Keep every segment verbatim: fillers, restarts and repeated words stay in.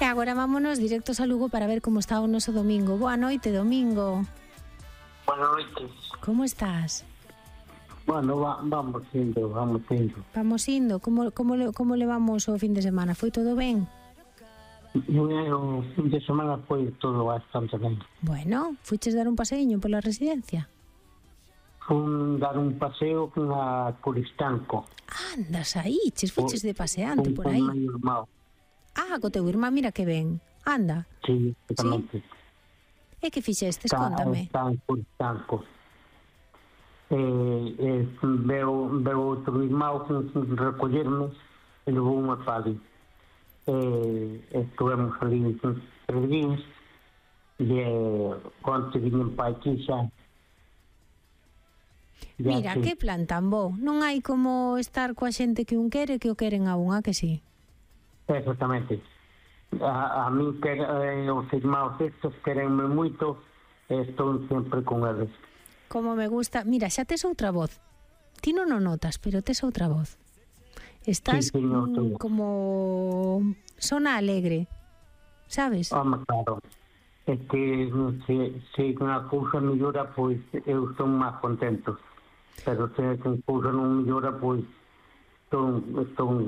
E agora vámonos directos a Lugo para ver como está o noso domingo. Boa noite, Domingo. Boa noite. Como estás? Bueno, va, vamos indo, vamos indo. Vamos indo. Como, como, le, como levamos o fin de semana? Foi todo ben? O fin de semana foi todo bastante ben. Bueno, fuches dar un paseiño pola residencia? Fun dar un paseo a Coristanco. Andas aí, ches fuches de paseante por aí. Con meu irmão. Ah, co teu irmán, mira que ben. Anda. Sí, exactamente. Sí? E que fixestes? Está, Cóntame. está en Coristanco. Eh, eh, veo, veo outro irmão recollerme e levou unha pali. Eh, estuvemos ali tres días e eh, onte viñen pa aquí xa. Mira, que plan tan bo. Non hai como estar coa xente que un quere que o queren a unha, que sí? Exactamente. A, a mí que eh, os irmãos estos querenme moito e estou sempre con eles. Como me gusta. Mira, xa tes outra voz. Ti non o notas, pero tes outra voz. Estás Sí, señor, mm, como... Sona alegre, sabes? Home, claro. É que se, se unha cousa mellora, pois eu estou máis contento. Pero se unha cousa non mellora, pois estou, estou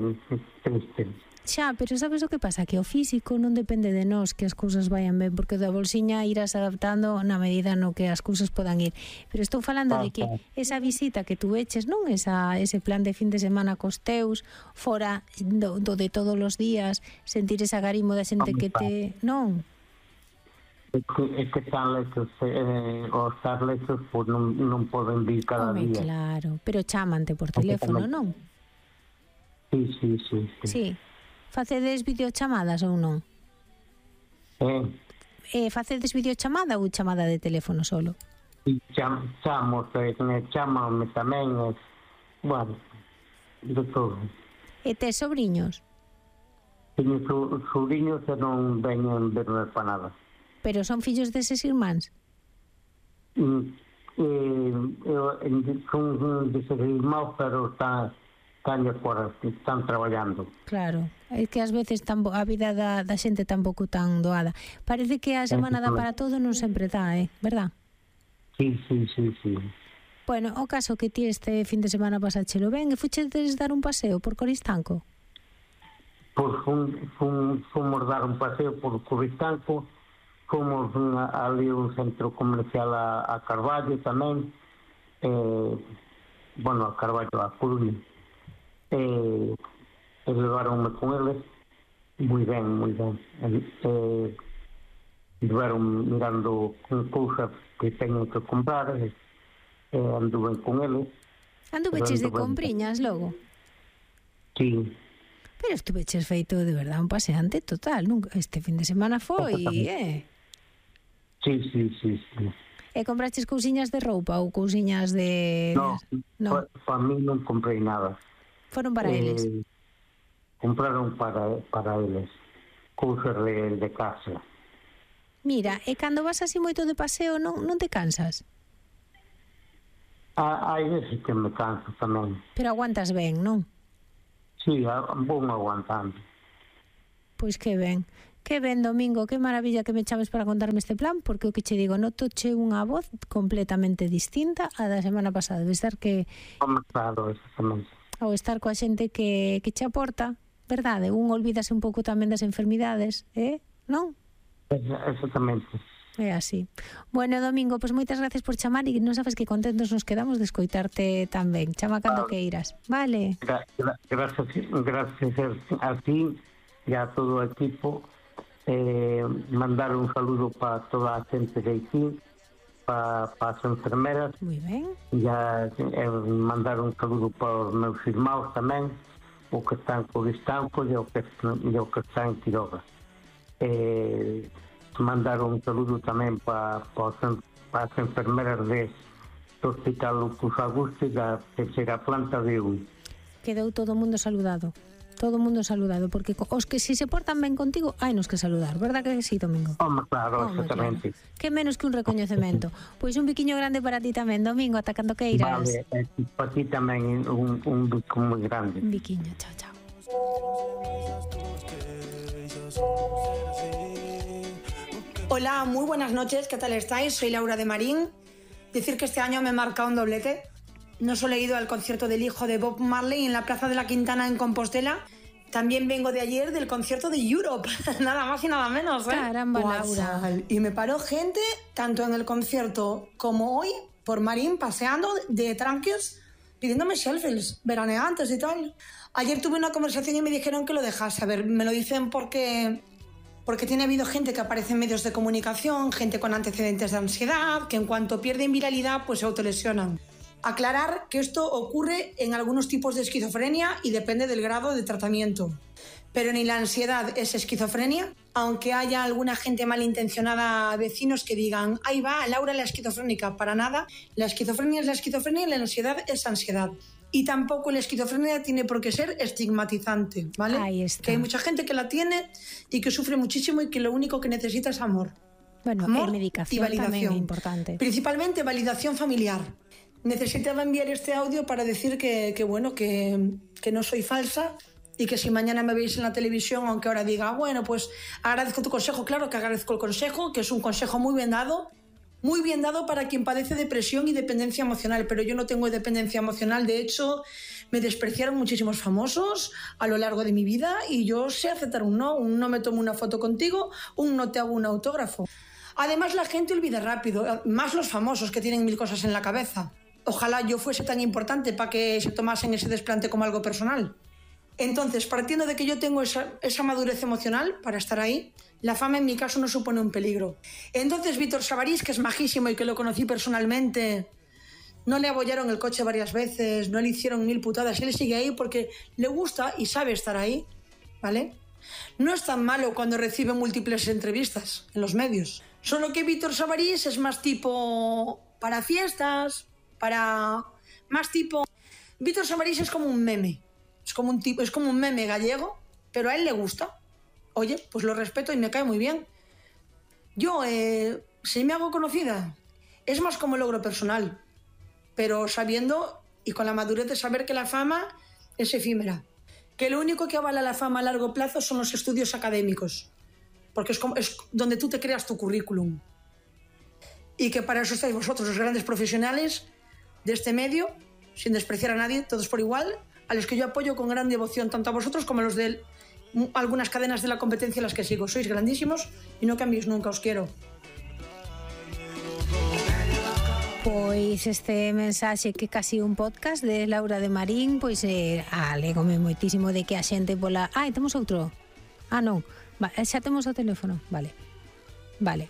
triste. Xa, pero sabes o que pasa? Que o físico non depende de nós que as cousas vayan ben, porque da bolsiña irás adaptando na medida no que as cousas podan ir. Pero estou falando de que esa visita que tú eches, non esa, ese plan de fin de semana cos teus, fora do, do de todos os días, sentir esa garimo da xente que te... Non? É que, é que tan lexos, eh, os tan lexos, pois non, non poden vir cada Home, día. claro, pero chámante por teléfono, non? Sí, sí, sí. Sí. Sí. Facedes videochamadas ou non? Eh, Eh, facedes videochamada ou chamada de teléfono solo? e cham, chamos, eh, chamame tamén, eh, bueno, de todo. E tes sobriños? Teño so, sobrinhos que non veñen verme para nada. Pero son fillos deses irmáns? Mm, eh, eu, son deses irmãos, pero está... están fora, están traballando. Claro, é que ás veces tan, a vida da, da xente tampouco tan doada. Parece que a semana dá para todo, non sempre dá, eh? Verdad? Sí, sí, sí, sí. Bueno, o caso que ti este fin de semana pasáchelo ben, e fuchedes dar un paseo por Coristanco? Pois fun, fun, fomos dar un paseo por Coristanco, fomos unha, ali un centro comercial a, a Carballo tamén, eh, bueno, a Carballo, a Coruña. Eh, e levaronme con eles moi ben, moi ben. Eh, levaron mirando con cousas que teño que comprar, e eh, anduve con eles. Anduveches de compriñas logo? Sí. Pero estuveches feito de verdad un paseante total, nunca, este fin de semana foi, eh? Sí, sí, sí, sí. E compraches cousiñas de roupa ou cousiñas de... No, no. para pa mí non comprei nada. Foron para eh, eles? Compraron para, para eles cousas de, de casa. Mira, e cando vas así moito de paseo non, non te cansas? Hai veces que me canso tamén. Pero aguantas ben, non? Sí, vou aguantando. Pois que ben. Que ben, Domingo, que maravilla que me chames para contarme este plan, porque o que che digo, notoche unha voz completamente distinta a da semana pasada. Debe estar que... Como claro, exactamente. Ao estar coa xente que, que che aporta, verdade? Un olvídase un pouco tamén das enfermidades, eh? Non? Exactamente. É así. Bueno, Domingo, pois moitas gracias por chamar e non sabes que contentos nos quedamos de escoitarte tan ben. Chama cando ah, que irás, vale? Gra gra gracias, gracias a ti e a todo o equipo. Eh, mandar un saludo para toda a xente de aquí, para pa as enfermeras. Moi ben. E eh, mandar un saludo para os meus irmãos tamén, o que están co Distanco e o que, e o que están en Quiroga. Eh, mandar un saludo tamén para pa, pa as enfermeras de, do Hospital Lucus Augusto e da terceira planta de U. Quedou todo o mundo saludado. Todo o mundo saludado, porque os que si se portan ben contigo, hai nos que saludar, verdad que sí, Domingo? Home, claro, Home, exactamente. Claro. Que menos que un recoñecemento. Pois un biquiño grande para ti tamén, Domingo, ata cando que irás. Vale, eh, para ti tamén un, un bico moi grande. Un biquiño, chao, chao. Hola, muy buenas noches, ¿qué tal estáis? Soy Laura de Marín. Decir que este año me he marcado un doblete. No solo he ido al concierto del hijo de Bob Marley en la Plaza de la Quintana en Compostela, también vengo de ayer del concierto de Europe, nada más y nada menos, ¿eh? Caramba, Laura. Y me paró gente, tanto en el concierto como hoy, por Marín, paseando de tranquios, pidiéndome selfies, veraneantes y tal. Ayer tuve una conversación y me dijeron que lo dejase. A ver, me lo dicen porque... Porque tiene habido gente que aparece en medios de comunicación, gente con antecedentes de ansiedad, que en cuanto pierden viralidad, pues se autolesionan. Aclarar que esto ocurre en algunos tipos de esquizofrenia y depende del grado de tratamiento. Pero ni la ansiedad es esquizofrenia, aunque haya alguna gente malintencionada, vecinos que digan, ahí va, Laura la esquizofrénica. Para nada, la esquizofrenia es la esquizofrenia y la ansiedad es ansiedad. Y tampoco la esquizofrenia tiene por qué ser estigmatizante, ¿vale? Ahí está. Que hay mucha gente que la tiene y que sufre muchísimo y que lo único que necesita es amor. Bueno, amor medicación y validación. también es importante. Principalmente validación familiar. Necesitaba enviar este audio para decir que, que bueno, que, que no soy falsa y que si mañana me veis en la televisión, aunque ahora diga, bueno, pues agradezco tu consejo, claro que agradezco el consejo, que es un consejo muy bien dado, muy bien dado para quien padece depresión y dependencia emocional, pero yo no tengo dependencia emocional. De hecho, me despreciaron muchísimos famosos a lo largo de mi vida y yo sé aceptar un no, un no me tomo una foto contigo, un no te hago un autógrafo. Además, la gente olvida rápido, más los famosos que tienen mil cosas en la cabeza. Ojalá yo fuese tan importante para que se tomasen ese desplante como algo personal. Entonces, partiendo de que yo tengo esa, esa madurez emocional para estar ahí, la fama en mi caso no supone un peligro. Entonces, Víctor Savarís, que es majísimo y que lo conocí personalmente, no le abollaron el coche varias veces, no le hicieron mil putadas, él sigue ahí porque le gusta y sabe estar ahí, ¿vale? No es tan malo cuando recibe múltiples entrevistas en los medios. Solo que Víctor Savarís es más tipo para fiestas, para más tipo... Víctor Savarís es como un meme, es como un tipo, es como un meme gallego, pero a él le gusta. Oye, pues lo respeto y me cae muy bien. Yo, eh, si me hago conocida, es más como logro personal, pero sabiendo y con la madurez de saber que la fama es efímera. Que lo único que avala la fama a largo plazo son los estudios académicos, porque es, como, es donde tú te creas tu currículum. Y que para eso estáis vosotros, los grandes profesionales de este medio, sin despreciar a nadie, todos por igual, a los que yo apoyo con gran devoción, tanto a vosotros como a los de algunas cadenas de la competencia a las que sigo. Sois grandísimos y no cambiéis nunca, os quiero. Pois este mensaxe que casi un podcast de Laura de Marín, pois eh, alegome moitísimo de que a xente pola... Ah, temos outro? Ah, non, va, xa temos o teléfono, vale, vale.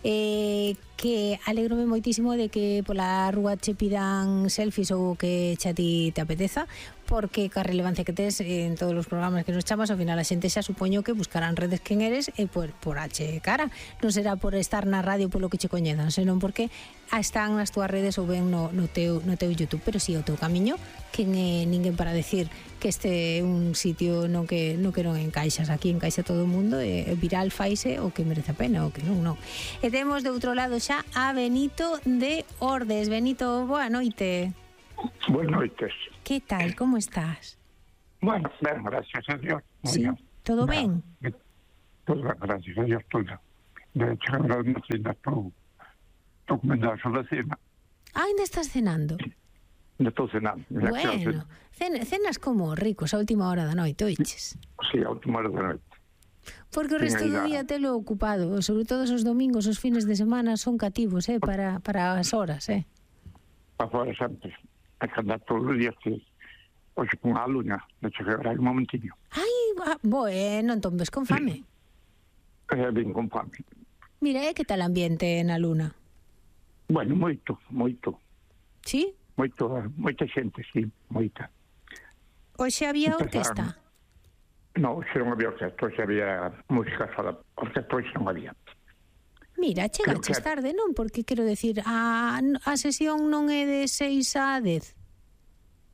Eh, que alegrome moitísimo de que pola rúa che pidan selfies ou que xa ti te apeteza, porque ca relevancia que tes en todos os programas que nos chamas, ao final a xente xa supoño que buscarán redes quen eres e por, por ache cara, non será por estar na radio polo que che coñezan, senón porque están nas túas redes ou ben no, no, teu, no teu YouTube, pero si sí, o teu camiño quen é ninguén para decir que este é un sitio no que, no que non encaixas, aquí encaixa todo o mundo e viral faise o que merece a pena o que non, non. E temos de outro lado xa a Benito de Ordes. Benito, boa noite. Buenas noches. ¿Qué tal? ¿Cómo estás? Bueno, bien, gracias a Dios. Sí, bien. ¿todo bien? bien? Todo bien, gracias a Dios, todo. De hecho, ahora me cena, estou comendo a la cena. Ah, ainda estás cenando? Ya estou cenando. Bueno, cen, cenas como ricos a última hora da noite, oiches? Sí, a última hora da noite. Porque o resto do día telo ocupado, sobre todo os domingos, os fines de semana son cativos, eh, para, para as horas, eh. Para fora sempre. Hai que andar todos os días que hoxe con a luna, de chegar aí un momentinho. Ai, bueno, entón ves con fame. Eh, ben con fame. Mira, e que tal ambiente na luna? Bueno, moito, moito. Sí? Moito, moita xente, sí, moita. Hoxe había orquesta? Non, hoxe non había orquesta, hoxe había música sola, orquesta hoxe non había. Mira, chegaches tarde, non? Porque quero decir, a, a sesión non é de seis a dez?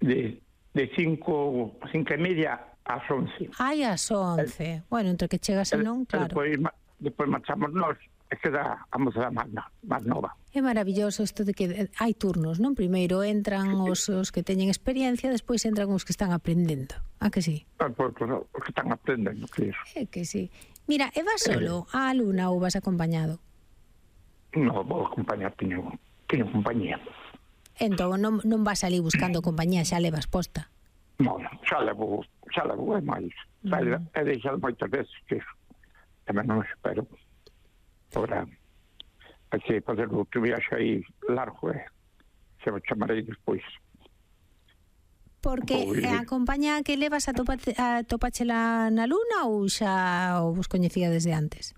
De, de cinco, cinco e media ás once. Ai, ás once. El, bueno, entre que chegas e non, claro. Depois, depois marchamos nós, e queda a moza máis, máis nova. É maravilloso isto de que hai turnos, non? Primeiro entran os, os que teñen experiencia, despois entran os que están aprendendo. A que sí? Os que están aprendendo, que iso. É que sí. Mira, e vas solo a luna ou vas acompañado? Non, vou acompañar, teño, teño compañía. Entón non, non vas ali buscando compañía, xa levas posta. Non, xa levo, xa levo, é máis. Xa mm. he deixado moitas veces que tamén non espero. Agora, hai que fazer outro viaxe aí largo, eh? Se o chamarei despois. Porque a compañía que levas a, topa, a topachela na luna ou xa o vos coñecía desde antes?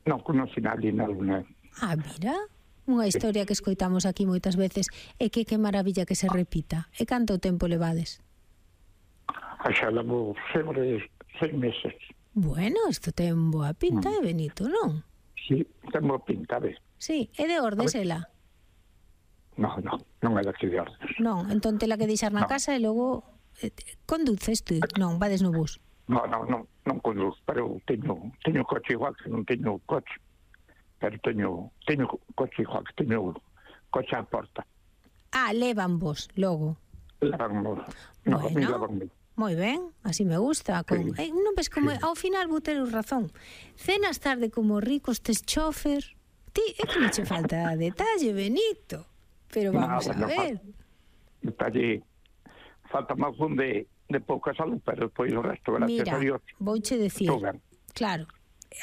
Non, conocí nadie na luna. Ah, mira, unha historia que escoitamos aquí moitas veces e que que maravilla que se repita. E canto tempo levades? A xa levo sempre seis meses. Bueno, isto ten boa pinta, mm. é Benito, non? Sí, ten boa pinta, ves? Sí, é de Ordes, ela? Non, non, non é daqui de Ordes. Non, entón tela que deixar na no. casa e logo eh, conduces tú? Non, vades no bus? Non, non, non, non conduz, pero teño, teño coche igual que non teño coche. Pero teño, teño coche igual que teño coche á porta. Ah, levan vos, logo. Levan vos. No, bueno, moi ben, así me gusta. Con, sí. eh, non ves como sí. Ao final vou ter razón. Cenas tarde como ricos, tes chofer. Ti, é que non che falta detalle, Benito. Pero vamos no, a ver. Detalle, falta máis un de, de pouca salud, pero depois o resto, gracias Mira, a Dios. Mira, vouche decir, claro,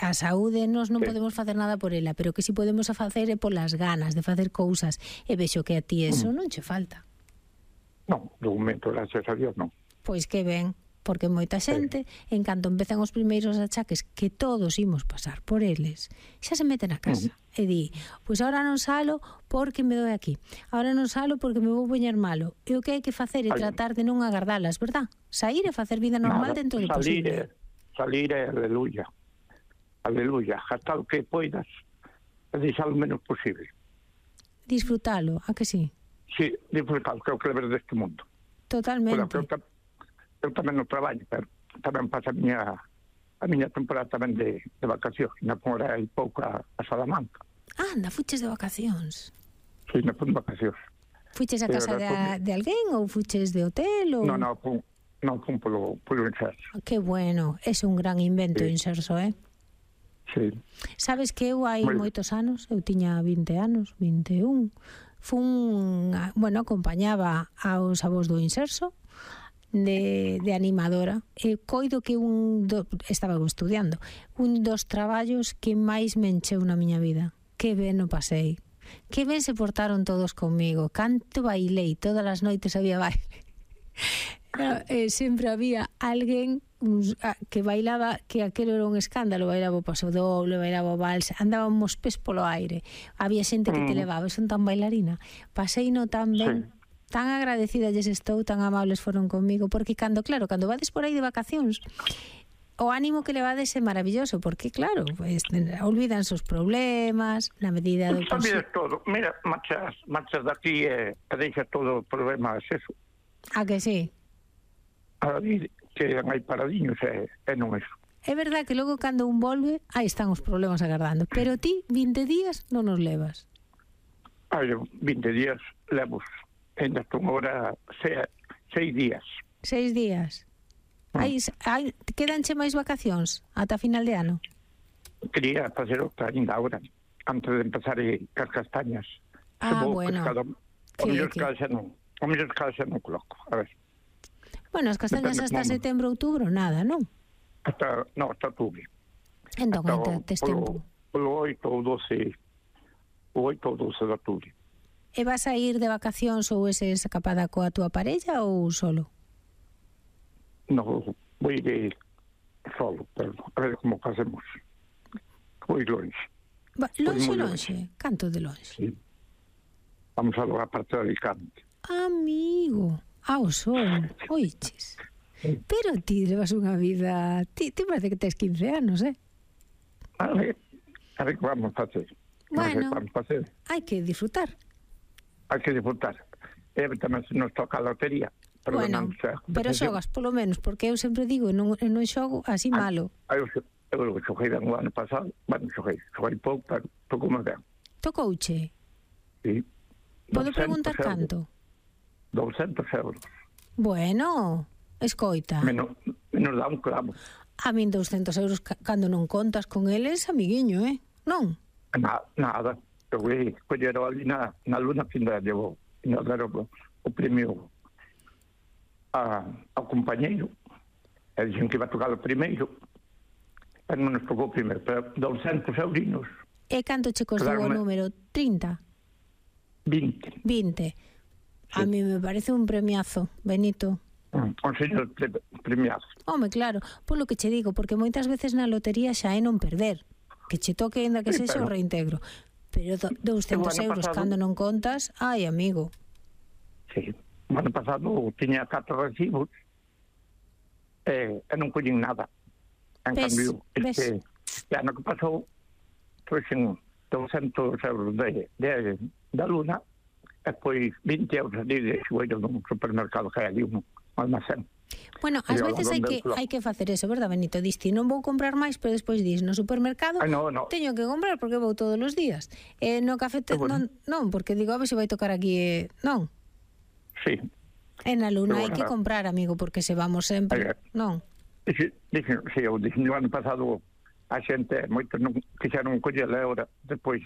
a saúde nos non sí. podemos facer nada por ela, pero que si podemos a facer é polas ganas de facer cousas, e vexo que a ti eso mm. non che falta. Non, de momento, gracias a Dios, non. Pois que ben, porque moita xente, sí. en canto empezan os primeiros achaques que todos imos pasar por eles, xa se meten a casa mm. e di, pois ahora non salo porque me doi aquí, ahora non salo porque me vou poñer malo, e o que hai que facer é Ay. tratar de non agardalas, verdad? Saír e facer vida normal Nada, dentro do salir posible. É, salir é aleluya, aleluya, hasta o que poidas, e deixar o menos posible. Disfrutalo, a que sí? Sí, disfrutalo, que é o que leves deste mundo. Totalmente. Eu tamén no traballo, pero tamén pasa a miña a miña temporada tamén de, de vacacións. Na fora hai pouco a, a Salamanca. Ah, anda, fuches de vacacións? Sí, na fui de vacacións. Fuches a casa de, a, de alguén ou fuches de hotel? Ou... Non, non, fun, non, fun polo, polo Inserso. Que bueno, é un gran invento sí. Inserso, eh? Sí. Sabes que eu hai Muy... moitos anos, eu tiña vinte anos, vinte e un, fun, bueno, acompañaba aos avós do Inserso, De, de animadora, e coido que un do, estaba estudiando un dos traballos que máis me encheu na miña vida. Que ben o pasei, que ben se portaron todos conmigo, canto bailei, todas as noites había baile. Claro, eh, sempre había alguén que bailaba, que aquelo era un escándalo, bailaba o paso doble, bailaba o vals, andábamos pés polo aire, había xente que te levaba, son tan bailarina, pasei no tan ben. Sí. Tan agradecida lles estou, tan amables foron comigo, porque cando, claro, cando vades por aí de vacacións, o ánimo que levades é maravilloso, porque claro, pues, olvidan os problemas, na medida do posible. Todo, mira, marchas, marchas daqui e eh, deixas todo o problema, é eso. A que sí? A dir que hai paradiños e, e non eso. É verdad que logo cando un volve, aí están os problemas agardando, pero ti vinte días non os levas. Ai, vinte días levos. Ainda estou agora seis, seis días. Seis días. Mm. Aí, aí, quedanche máis vacacións ata final de ano? Quería facer outra ainda agora, antes de empezar as castañas. Ah, bueno. Pescado, o mellor casa non, o mellor casa non coloco, a ver. Bueno, as castañas hasta setembro, outubro, nada, non? Hasta, non, hasta outubro. Entón, hasta tes tempo. Polo oito ou doce, o oito ou doce de outubro. E vas a ir de vacacións ou ese escapada coa túa parella ou solo? Non, vou ir solo, pero a ver como facemos. Vou ir longe. Va, longe, longe? Canto de longe? Sí. Vamos a a parte de Alicante. Amigo, ao sol, oiches. Sí. Pero ti levas unha vida... Ti, ti parece que tes quince anos, eh? A ver, a ver que vamos a facer. Bueno, hai que disfrutar. Hai que disfrutar. E tamén se nos toca a lotería. Pero bueno, pero xogas polo menos, porque eu sempre digo, non, non xogo así malo. Eu, eu, eu xoguei ben o ano pasado, bueno, xoguei, xoguei pouco, pero tocou máis ben. Tocouche? Sí. Podo preguntar canto? douscentos euros. Bueno, escoita. Menos, menos dá un clavo. A min douscentos euros cando non contas con eles, amiguiño, eh? Non? Na, nada. Eu fui colher ali na, na Luna Findade, eu nós deram o, o prêmio a, ao companheiro. Eles diziam que ia tocar o primeiro. Mas non nos tocou o primeiro, pero douscentos eurinos. E canto che costou o número? trinta? vinte. vinte. Sí. A mí me parece un premiazo, Benito. Un señor premiazo. Home, claro, polo que che digo, porque moitas veces na lotería xa é non perder. Que che toque ainda que sí, sexa o reintegro. Pero do, douscentos euros pasado, cando non contas, ai, amigo. Sí, o ano pasado tiña catro recibos e, e non collín nada. En ves, cambio, este, este ano que pasou, trouxen douscentos euros de, de, da Luna e pois vinte euros ali de xoello dun supermercado que hai ali, un almacén. Bueno, ás veces hai que hai que facer eso, verdad, Benito? Diste, non vou comprar máis, pero despois dis, no supermercado Ay, no, no. teño que comprar porque vou todos os días. Eh, no café te, bueno. non, non, porque digo, a ver se vai tocar aquí, eh, non. Sí. En a Luna hai bueno, que comprar, amigo, porque se vamos sempre, ay, non. Dixe, dixe, sí, eu dixen, no ano pasado a xente moito non quixeron coller a hora depois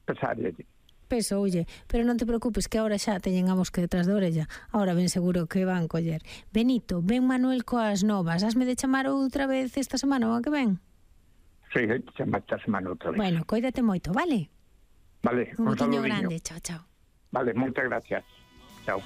pesar allí. Peso, oye, pero non te preocupes que agora xa teñen a mosca detrás da orella. Ahora ben seguro que van coller. Benito, ven Manuel coas novas. Hasme de chamar outra vez esta semana ou a que ven? Sí, chamar esta semana outra vez. Bueno, coídate moito, vale? Vale, un, un beixiño grande, chao, chao. Vale, moitas gracias. Chao.